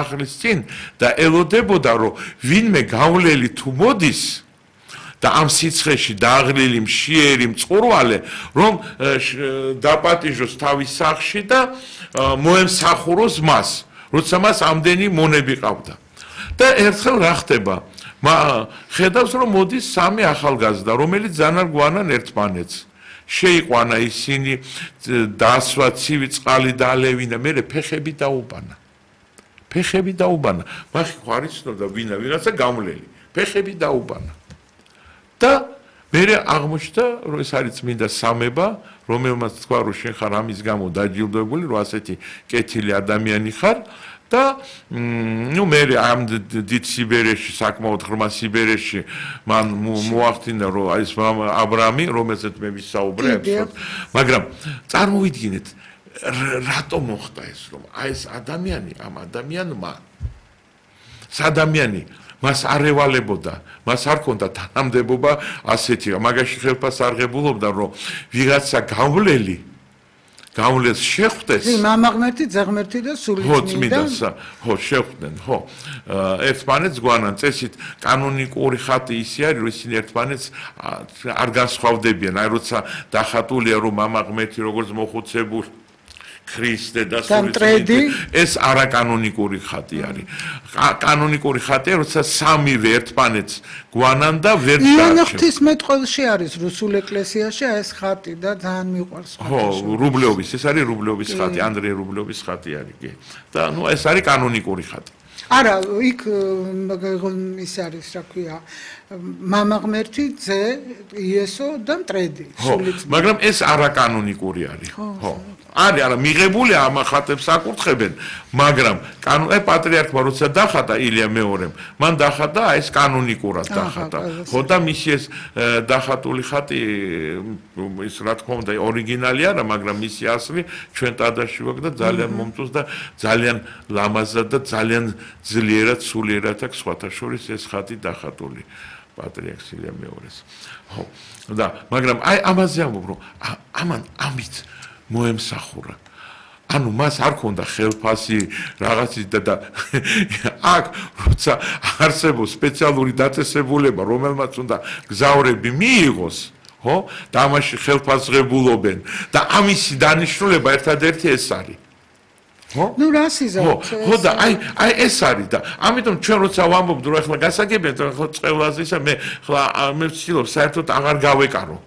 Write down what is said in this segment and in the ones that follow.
ახლის წინ და ელოდებოდა რომ ვინმე გავლელი თუ მოდის და ამ სიცხეში დააღლილი მშიერი მწყურვალე რომ დაპატიჟოს თავის სახლში და მოემსახუროს მას როცა მას ამდენი მონები ყავდა და ერთხელ რა ხდება ხედავს რომ მოდის სამი ახალგაზრდა რომელიც ძალიან გვანან ერთმანეთს შეიყვანა ისინი დასვა ცივი წყალი დაალევინა მე ფეხები დაუბანა მახი ხარ იცნობდა ვინაცა გამლელი ფეხები დაუბანა და მე აღმოჩნდა რომ ეს არის წმინდა სამება რომელმაც თქვა რომ შენ ხარ ამის გამო დაჯილდოებული რომ ასეთი კეთილი ადამიანი ხარ და ნუ მე ამ დიდ სიბერეში საკმაოდ ღრმა სიბერეში მან მოახდინა რომ ეს აბრამი რომელზეც მე ვისაუბრე მაგრამ წარმოვიდგინეთ რატომ მოხდა ეს რომ აი ეს ადამიანი ამ ადამიანმა ადამიანი მას არ ევალებოდა მას არ ჰქონდა თანამდებობა ასეთი მაგაში ხელფას არ ღებულობდა რომ ვიღაცა გავლენს შეხვდეს მამაღმერთი ძაღმერთი და სულიწმინდა ხო შეხვდნენ ხო ერთმანეთს გვანან წესით კანონიკური ხატი ისე არის რომ ისინი ერთმანეთს არ განსხვავდებიან აი როცა დახატულია რომ მამაღმერთი როგორც მოხუცებული ქრისტე და სულიწმინდა ეს არაკანონიკური ხატი არის კანონიკური ხატია როცა სამივე ერთმანეთს გვანან და ვერ დაარჩევს იანა ღვთისმეტყველში არის რუსულ ეკლესიაში ეს ხატი და ძალიან მიყვარს ხო რუბლეობის ეს არის რუბლეობის ხატი ანდრეი რუბლეობის ხატი არის კი და ნუ ეს არის კანონიკური ხატი არა იქ ის არის რა ქვია მამაღმერთი ძე იესო და მტრედი სულიწმინდა მაგრამ ეს არაკანონიკური არის ხო არის არა მიღებული ამ ხატებს აკურთხებენ მაგრამ პატრიარქმა როცა დახატა ილია მეორემ მან დახატა ეს კანონიკურად დახატა ხო და მისი ეს დახატული ხატი ის რა თქმა უნდა ორიგინალი არა მაგრამ მისი ასლი ჩვენ ტადაში ვაქვს და ძალიან მომწონს და ძალიან ლამაზად და ძალიან ძლიერად სულიერად აქვს სხვათა შორის ეს ხატი დახატული პატრიარქ ილია მეორეს ხო და მაგრამ აი ამაზე ამბობ რომ ამან ამით მოემსახურა ანუ მას არ ქონდა ხელფასი რაღაცის და აქ როცა არსებობს სპეციალური დაწესებულება რომელმაც უნდა გზავრები მიიღოს ხო და ამაში ხელფასღებულობენ და ამისი დანიშნულება ერთადერთი ეს არის ხო ნუ რა სიზავთ ხო და აი ეს არის და ამიტომ ჩვენ როცა ვამბობთ რომ ახლა გასაგებია და ახლა წევლაზე ისა მე ვცდილობ საერთოდ აღარ გავეკარო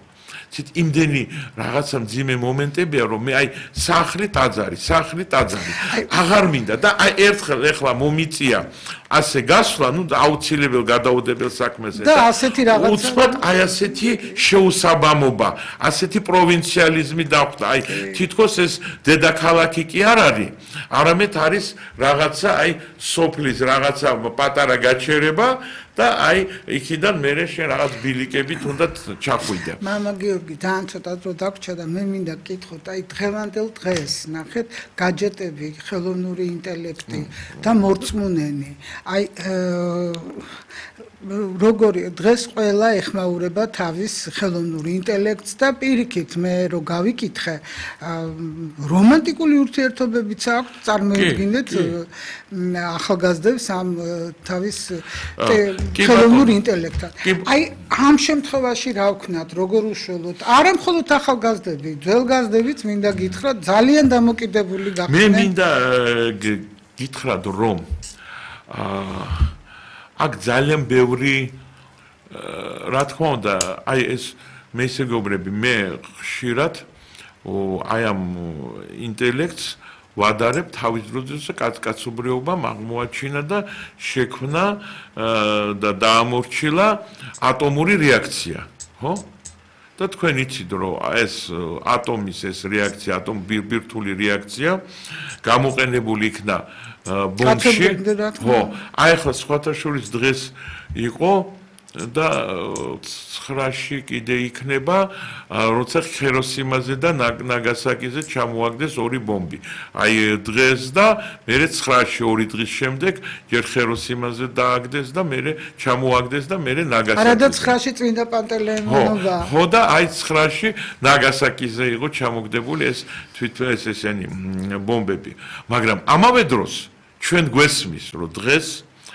ცით იმდენი რაღაცა მძიმე მომენტებია რომ მე აი სახლი ტაძარი აღარ მინდა და აი ერთხელ ეხლა მომიწია ასე გასვლა ნუ აუცილებელ გადაუდებელ საქმეზე და ასეთი რაღაცა უცბად აი ასეთი შეუსაბამობა ასეთი პროვინციალიზმი დახვდა აი თითქოს ეს დედაქალაქი კი არ არის არამედ არის რაღაცა აი სოფლის რაღაცა პატარა გაჩერება და აი იქიდან მე შენ რაღაც ბილიკებით უნდა ჩახვიდე. მამა გიორგი ძალიან ცოტა დრო დაგვრჩა და მე მინდა გკითხოთ, აი დღევანდელ დღეს ნახეთ გაჯეტები, ხელოვნური ინტელექტი და მორწმუნენი. აი როგორი დღეს ყველა ეხმაურება თავის ხელოვნურ ინტელექტს და პირიქით მე რო გავიკითხე რომანტიკული ურთიერთობებიც აქვს წარმოიდგინეთ ახალგაზრდებს ამ თავის ხელოვნურ ინტელექტთან. აი ამ შემთხვევაში რა ვქნათ, როგორ უშველოთ? არა მხოლოდ ახალგაზრდები, ძველგაზრდებიც მინდა გითხრათ, ძალიან დამოკიდებული გახდნენ. მე მინდა გითხრათ რომ აქ ძალიან ბევრი რა თქმა უნდა აი ეს მესეგობრები მე ხშირად აი ამ ინტელექტს ვადარებ თავის დროზე კაცობრიობამ აღმოაჩინა და შექმნა და დაამორჩილა ატომური რეაქცია ხო და თქვენ იცით რომ ეს ატომის ეს რეაქცია ბირთვული რეაქცია გამოყენებული იქნა ბომბში ხო აი ახლა სხვათა შორის დღეს იყო და 9-ში კიდე იქნება როცა ხიროსიმაზე და ნაგასაკიზე ჩამოაგდეს ორი ბომბი აი დღეს და მერე 9-ში ორი დღის შემდეგ ჯერ ხიროსიმაზე დააგდეს და მერე ჩამოაგდეს და მერე ნაგასაკიზე არა და 9-ში წმინდა პანტელეიმონობა ხო და აი 9-ში ნაგასაკიზე იყო ჩამოგდებული ეს თვითონ ესენი ბომბები მაგრამ ამავე დროს ჩვენ გვესმის რომ დღეს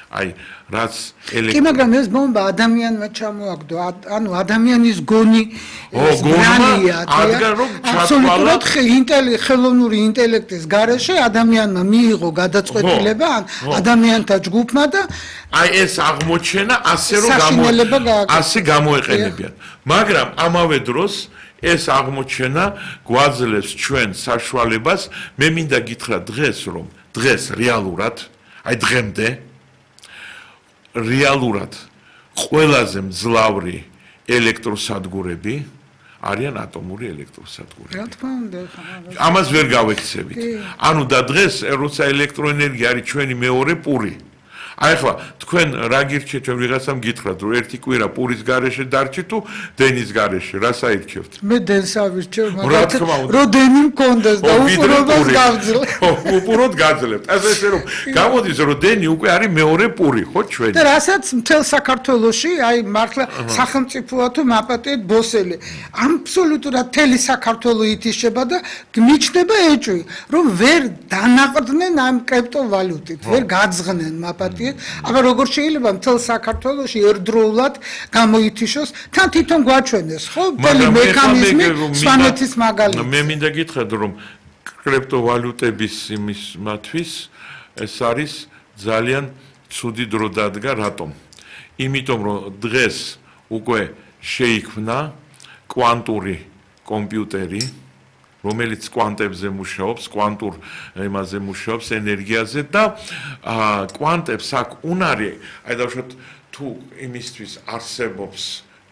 აი რაც კი მაგრამ ეს ბომბა ადამიანმა ჩამოაგდო ანუ ადამიანის გონი გონია აბსოლუტურად ხელოვნური ინტელექტის გარეშე ადამიანმა მიიღო გადაწყვეტილება ადამიანთა ჯგუფმა და აი ეს აღმოჩენა ასე გამოეყენებიან მაგრამ ამავე დროს ეს აღმოჩენა გვაძლევს ჩვენ საშუალებას მე მინდა გითხრა დღეს რეალურად აი დღემდე რეალურად ყველაზე მძლავრი ელექტროსადგურები არიან ატომური ელექტროსადგურები. რა თქმა უნდა, ამას ვერ გავექცევით. ანუ და დღეს როცა ელექტროენერგია არის ჩვენი მეორე პური. აი ახლა თქვენ რა გირჩევთ ჩვენ ვიღაცამ გითხრათ რომ ერთი კვირა პურის გარეშე დარჩი თუ დენის გარეშე რას აირჩევთ? მე დენს ავირჩევ, მაგრამ რომ დენი მქონდეს და უპურობას გავძლევ. უპურად გაძლევთ. ასე რომ გამოდის რომ დენი უკვე არის მეორე პური, ხო ჩვენი? და რასაც მთელ საქართველოში აი მართლა სახელმწიფოა თუ მაპატიეთ ბოსელი. აბსოლუტურად მთელი საქართველო ითიშება და მიჩნდება ეჭვი, რომ ვერ დანაყრდნენ ამ კრიპტოვალუტით, ვერ გაძღნენ მაპატიეთ აბა როგორ შეიძლება მთელ საქართველოში ერთდროულად გამოითიშოს თან თვითონ გვაჩვენეს ხო მთელი მექანიზმი სვანეთის მაგალითად მე მინდა გითხრათ რომ კრიპტოვალუტების იმისათვის ეს არის ძალიან ცუდი დრო დადგა რატომ იმიტომ რომ დღეს უკვე შეიქმნა კვანტური კომპიუტერი რომელიც კვანტებზე მუშაობს, კვანტურ იმაზე მუშაობს, ენერგიაზე და კვანტებს აქვს უნარი, აი დავუშვათ თუ იმისთვის არსებობს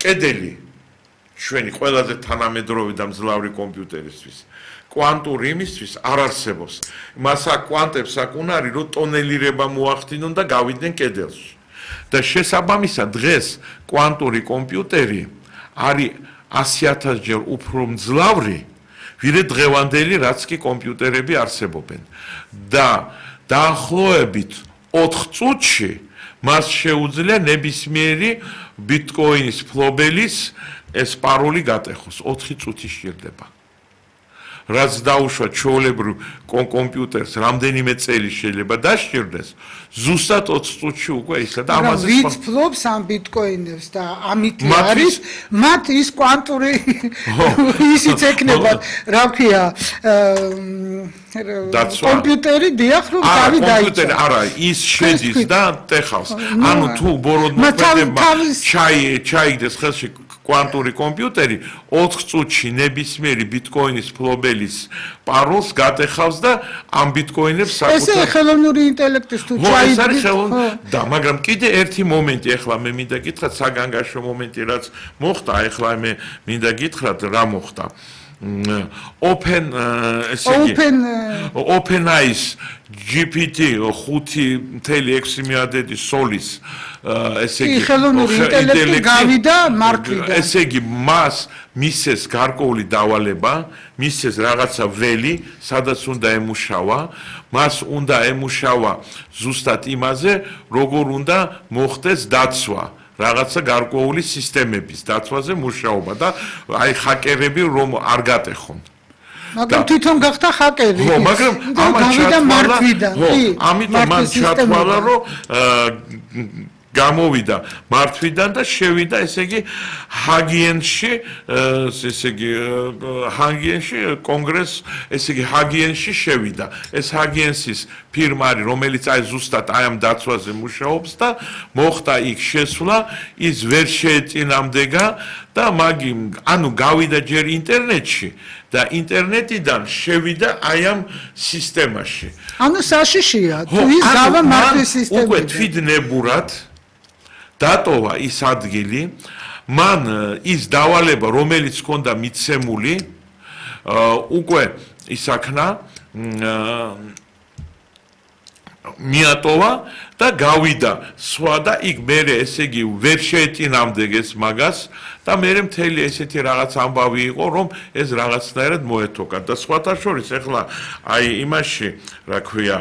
კედელი ჩვენი ყველაზე თანამედროვე და მძლავრი კომპიუტერისთვის. კვანტური იმისთვის არ არსებობს. მას აქვს კვანტებს აქვს უნარი, რომ ტონელირება მოახდინონ და გავიდნენ კედელში. და შესაბამისად დღეს კვანტური კომპიუტერი არის 100,000 ჯერ უფრო მძლავრი ვიდრე დღევანდელი რაც კი კომპიუტერები არსებობენ და დაახლოებით 4 წუთში მას შეუძლია ნებისმიერი ბიტკოინის ფლობელის ეს პაროლი გატეხოს 4 წუთი შეიძლება რაც დაუშვა ჩვეულებრივ კომპიუტერს რამდენიმე წელი შეიძლება დასჭირდეს ზუსტად 20 წუთში უკვე ისა და ამაზე ვით ფლობს ამ ბიტკოინებს და ამით არის მათ ის კვანტური ისიც ეკნება რა ქვია კომპიუტერი დიახ რომ თავი დაიწყო კომპიუტერი არა ის შედის და ტეხავს ანუ თუ ბოროტმოქმედება ჩაიგდეს ხელში კვანტური კომპიუტერი 4 წუთში ნებისმიერი ბიტკოინის ფლობელის პაროლს გატეხავს და ამ ბიტკოინებს საკუთარ ესე ხელოვნური ინტელექტის თუ ჩაიგდეს და მაგრამ კიდე ერთი მომენტი ახლა მე მინდა გითხრათ საგანგაშო მომენტი რაც მოხდა ახლა მე მინდა გითხრათ რა მოხდა OpenAI GPT 5.6 მილიარდი სოლის ესე იგი ხელოვნური ინტელექტი გავიდა მარკიდან ესე იგი მას მისცეს გარკვეული დავალება მისცეს რაღაცა ველი სადაც უნდა ემუშავა მას უნდა ემუშავა ზუსტად იმაზე როგორ უნდა მოხდეს დაცვა რაღაცა გარკვეული სისტემების დაცვაზე მუშაობა და აი ჰაკერები რომ არ გატეხონ მაგრამ თვითონ გახდა ჰაკერი ხო მაგრამ ამიტომ მან ჩათვალა რომ გამოვიდა მართვიდან და შევიდა ესე იგი ჰაგიენში ესე იგი ჰაგიენში კონგრეს ესე იგი ჰაგიენში შევიდა ეს ჰაგიენსის ფირმა არის რომელიც აი ზუსტად აი ამ დაცვაზე მუშაობს და მოხდა იქ შესვლა ის ვერ შეეწინამდეგა და მაგი ანუ გავიდა ჯერ ინტერნეტში და ინტერნეტიდან შევიდა აი ამ სისტემაში ანუ საშიშია თუ ის გავა მართვის სისტემიდან უკვე თვითნებურად დატოვა ის ადგილი მან ის დავალება რომელიც ჰქონდა მიცემული უკვე ისაქნა მიატოვა და გავიდა სხვა და იქ მერე ესე იგი ვერ შეეწინამდეგეს მაგას და მერე მთელი ესეთი რაღაც ამბავი იყო რომ ეს რაღაცნაირად მოეთოქა და სხვათა შორის ახლა აი იმაში რა ქვია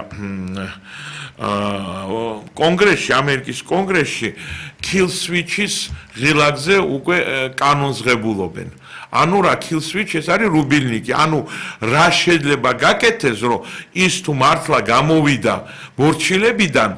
კონგრესში ამერიკის კონგრესში kill switch-ის ღილაკზე უკვე კანონს ღებულობენ ანუ რა kill switch ეს არის რუბილნიკი. ანუ რა შეიძლება გაკეთდეს, რომ ის თუ მართლა გამოვიდა მორჩილებიდან